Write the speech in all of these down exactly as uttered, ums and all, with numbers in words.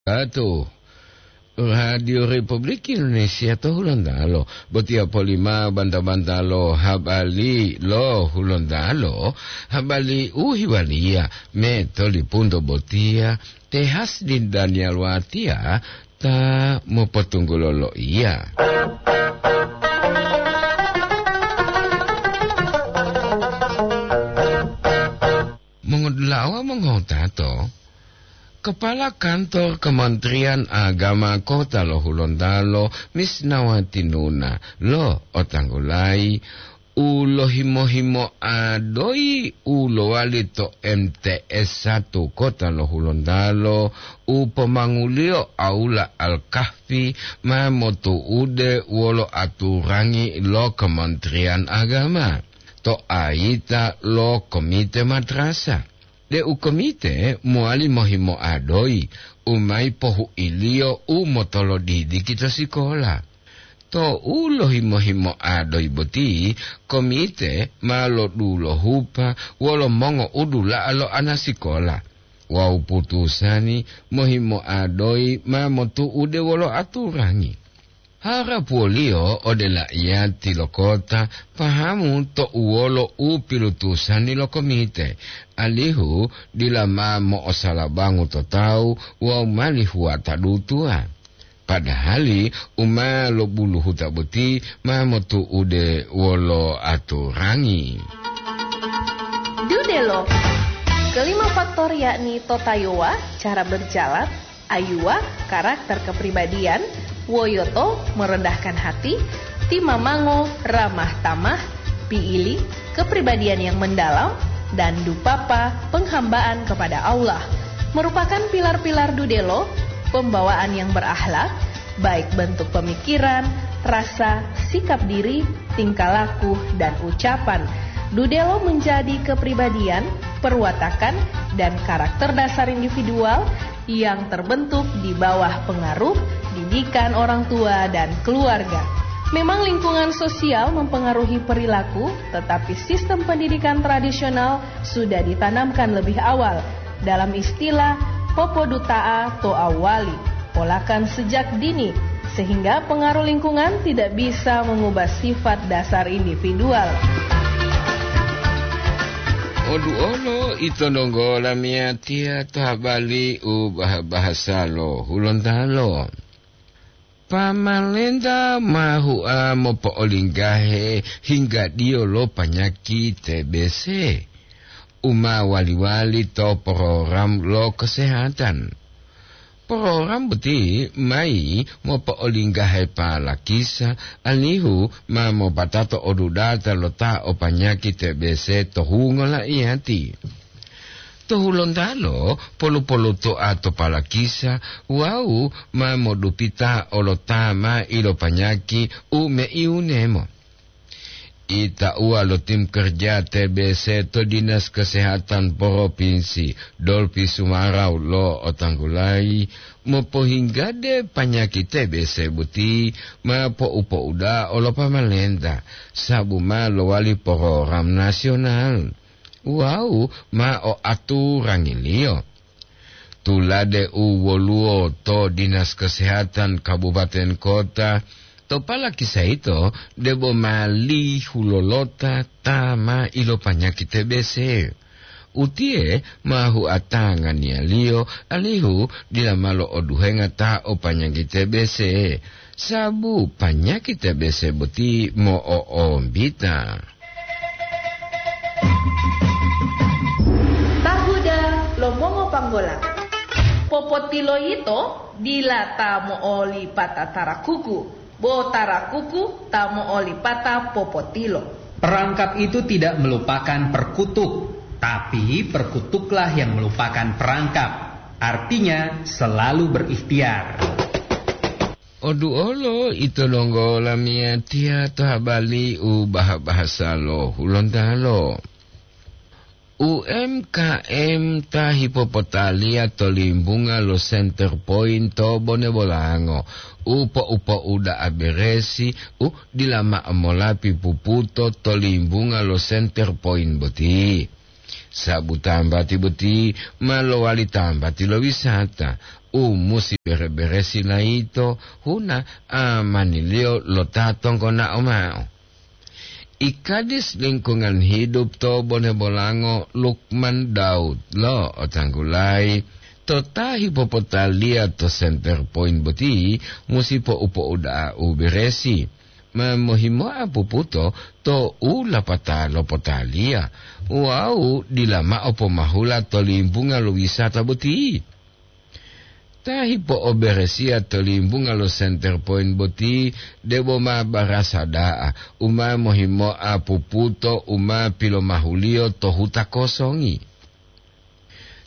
Atu, Radio Republik Indonesia to Hulontalo, botiya polima banta-banta lo habari lo Hulontalo, habari u hiwaliya me to lipunto botiya, te Hasdin Daniel Watiya ta mopotunggulo loiya. Mongodula'a wawu mongotato, Kepala Kantor Kementerian Agama Kota lo Hulontalo, Misnawati Nuna, lo otanggulayi u lohimo-himoa doyi u lowali to M T S satu Kota lo Hulontalo, u pomanguliyo Aula Al-Kahfi, ma motu'ude wolo aturangi lo Kementerian Agama to ayita lo komite madrasah. Deu komite mowali mohimoa doyi u mayi pohuiliyo u motolodidiki to sikola. Tou lohimo-himoa doyi boti, komite ma lodulohupa wolo mongoudula'a lo anasikola wawu putusani mohimoa doyi ma motu'ude wolo aturangi. Harapuwoliyo ode la'iyati lo kota pahamu to uwolo u pilutusani lo komite, alihu dila ma mo'osalabangu to tawu wawu mali huwata dutuwa. Padahali u ma lobuluhuta boti ma motu'ude wolo aturangi. Dudelo. Kelima faktor yakni totayowa, cara berjalan, ayuwa, karakter kepribadian, woyoto, merendahkan hati, timamango, ramah tamah, piili, kepribadian yang mendalam, dan dupapa, penghambaan kepada Allah, merupakan pilar-pilar dudelo, pembawaan yang berakhlak, baik bentuk pemikiran, rasa, sikap diri, tingkah laku, dan ucapan. Dudelo menjadi kepribadian, perwatakan, dan karakter dasar individual yang terbentuk di bawah pengaruh didikan orang tua dan keluarga. Memang lingkungan sosial mempengaruhi perilaku, tetapi sistem pendidikan tradisional sudah ditanamkan lebih awal. Dalam istilah, popoduta'a to awali, polakan sejak dini, sehingga pengaruh lingkungan tidak bisa mengubah sifat dasar individual. Oduolo ito donggo lamiyatiya to habari u bah-, bahasa lo Hulontalo. Pamalenta ma hua mopo'olinggahe hinggadiyo lo panyaki T B C u ma wali-wali to program lo kesehatan. Program boti mayi mopo'olinggahe palakisa alihu ma mopatato odudata lo ta o panyaki T B C to hungo la'iyati. To Hulontalo polu-polutoa to palakisa wawu ma modupita olota ma ilopanyaki u meiunemo. Itauwa lo tim kerja T B C to Dinas Kesehatan Propinsi Dolpi Sumarau lo otanggulayi mopohinggade panyaki T B C boti ma po'u-po'uda'a olo pamalenta, sabu ma lowali program nasional wawu ma o aturangiliyo. Tulade u woluwo to Dinas Kesehatan Kabupaten Kota, to palakisa yito debo ma lihulolota ta ma ilopanyaki T B C. Utiye ma huatanganiyaliyo alihu dila ma lo'oduhenga ta o panyaki T B C, sabu panyaki T B C boti mo'o'ombita. Tahuda lo mongopanggola. Popotilo yito dila ta mo'olipata tarakuku, bo tarakuku ta mo'olipata popotilo. Perangkap itu tidak melupakan perkutuk, tapi perkutuklah yang melupakan perangkap. Artinya, selalu berikhtiar. Oduolo ito donggo lamiyatiya to habari u baha-bahasa lo Hulontalo. U M K M ta hipopotaliya to limbunga lo Center Point to Bone Bolango, u po'u-po'uda'a beresi u dila ma'o molapi puputo to limbunga lo Center Point boti. Sabu tambati boti ma lowali tambati lo wisata, u musi bere-beresi layito huna amaniliyo lo ta tonggonao mao. I Kadis Lingkungan Hidup to Bonebolango, Lukman Daud lo otanggulayi to ta hipopotaliya to center point boti musi po'u-po'uda'a u beresi, ma mohimoa puputo to u lapata lopotaliya wawu dila ma'o pomahula to limbunga lo wisata boti. Ta hipo'oberesiya to limbunga lo center point boti debo ma barasa da'a u ma mohimoa puputo u ma pilomahuliyo to huta kosongi.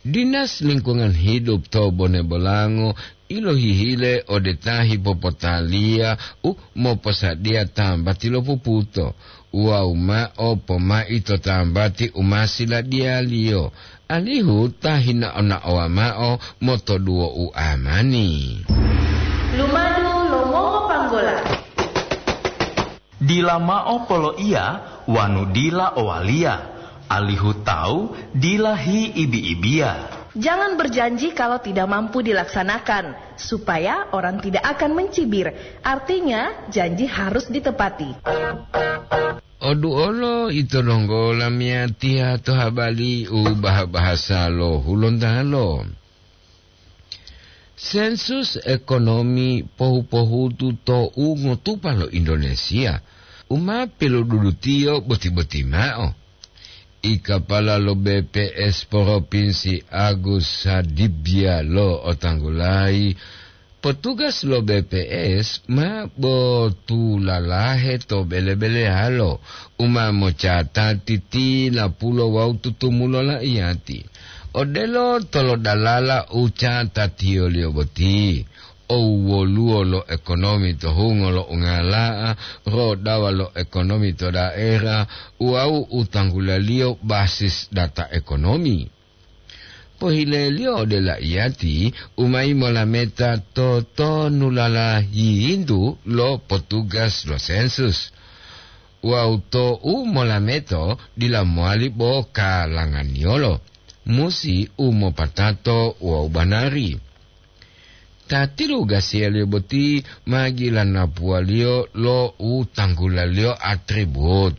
Dinas Lingkungan Hidup to Bonebolango ilohihile ode ta hipopotaliya u moposadiya tambati lo puputo wawu ma'o pomai to tambati u ma siladiyaliyo, alihu ta hinao-naowa ma'o motoduwo u amani. Lumadu lo mongopanggola. Dila mao poloiya wanu dila owaliya, alihu tawu dila hiibi-ibiya. Jangan berjanji kalau tidak mampu dilaksanakan, supaya orang tidak akan mencibir. Artinya, janji harus ditepati. Oduolo ito donggo lamiyatiya to habari u baha-bahasa lo Hulontalo. Sensus ekonomi pohu-pohutu to u ngotupa lo Indonesia, u ma pilodudutiyo boti-boti mao. I kapala lo B P S Provinsi Agus Sadibya lo otanggulayi, petugas lo B P S ma botulalahe to bele-beleyalo u ma mocatati tinapulo wawu tutumulo laiyati. Odelo tolodalala u catatiyoliyo boti, owoluwo lo ekonomi to hungo lo ungala'a, rodawa lo ekonomi to daerah, wawu u tanggulaliyo basis data ekonomi. Pohileliyo ode laiyati u mayi molameta to tonulala yiyintu lo potugas lo sensus. Wawu to u molameto dila mowali bo kalanganiyolo, musi u mopatato wawu banari. Ta tilugasiyaliyo boti ma gilanapuwaliyo lo u tanggulaliyo atribut.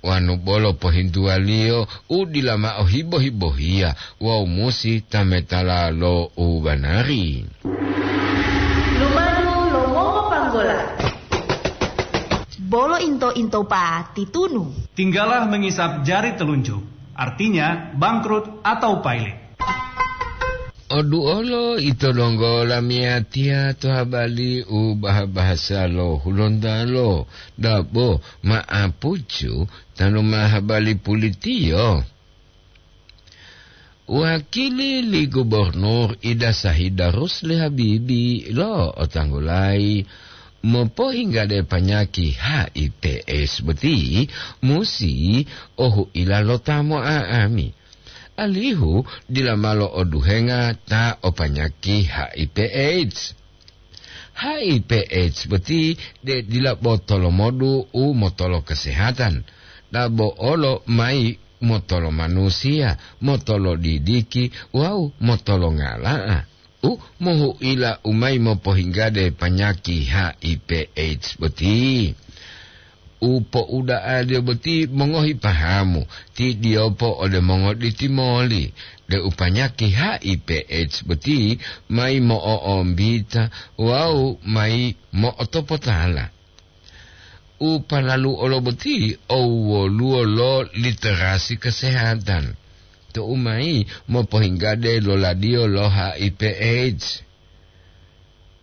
Wanu bolo pohintuwaliyo u dila mao hibo-hibohiya wawu musi tametala lo u banari. Lumadu lo mongopanggola. Bolo into-into pati tunu. Tinggalah mengisap jari telunjuk, artinya bangkrut atau pailit. Oduolo ito donggo lamiyatiya to habari u baha-bahasa lo Hulontalo, dabo ma'apucu tanu ma habari pulitiyo. Wakili li Gubernur Ida Sahida Rusli Habibi lo otanggulayi mopohinggade panyaki H I P S boti musi ohuila lo ta mo'a'ami, alihu dila malo oduhenga ta o panyaki H I P AIDS. H I P AIDS boti de dila bo tolomodu u motolo kesehatan, dabo olo mayi motolo manusiya, motolo didiki wawu motolo ngala'a u mohu'ila u mayi mopohinggade panyaki H I P AIDS boti. U po'uda'aliyo boti mongohi pahamu, ti diyopo ode mongoditi moli, deu panyaki H I P AIDS boti mayi mo'o'ombita wawu mayi mo'otopotala. U palalu olo boti owoluwo lo literasi kesehatan, tou mayi mopohinggade loladiyo lo H I P AIDS.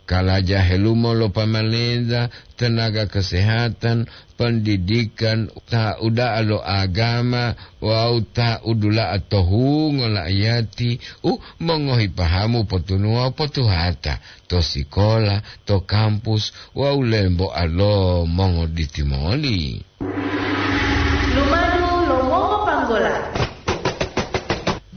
Kalaja helumo lo pamalenta, tenaga kesehatan, pendidikan, ta uda'a lo agama, wawu ta udula'a to hungo la'iyati u mongohi pahamu potunuwa potuhata to sikola, to kampus wawu lemboa lo mongoditi moli. Lumadu lo mongopanggola.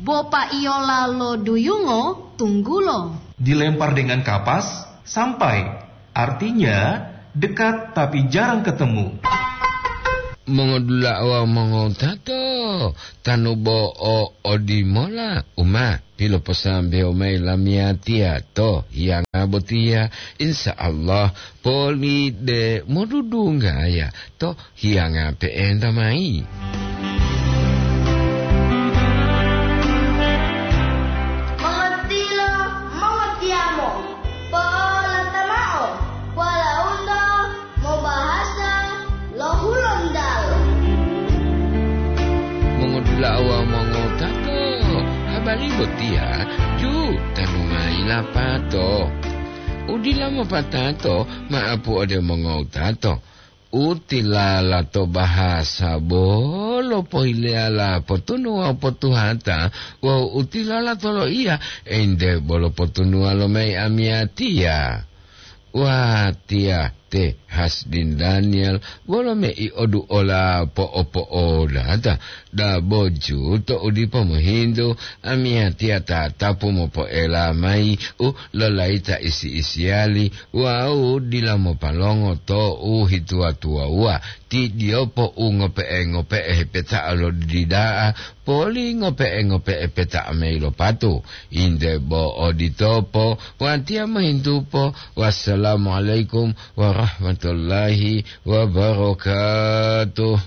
Bopa iyola lo duyungo tunggulo. Dilempar dengan kapas, sampai. Artinya, dekat tapi jarang ketemu. Mongodula'a wawu mongotato. Tanu bo o odimola u ma piloposambewo mayi lamiyatiya to hiyanga botiya, insya Allah, poli de modudunggaya to hiyanga pe'enta mayi. Mongotilo, mongotiyamo, po'olata mao, walaundo mobahasa lo Hulontalo. Mongodula'a wawu mongowutato, habari botiya ju tanu mayi lapato. U dila mopatato ma'apu ode mongowutato. U tilala to bahasa bolo pohileyala potunu wawu potuhata, wawu u tilala to loiya ente bolo potunuwa lo mayi amiyatiya. Watiya te Hasdin Daniel, wolo mei oduola po'opo'odata, daboju to u dipo mohintu, amiyatiya tatapu mopoela mayi u lolayita isi-isiyali wawu dila mopalongo to u hituwa-tuwawuwa, ti diyopo u ngope'e-ngope'e hepeta'a lo dida'a, poli ngope'e-ngope'e peta'a mayi lo patu. Inde bo oditopo, watiya mohintupo. Wassalamualaikum warahmatullahi wabarakatuh.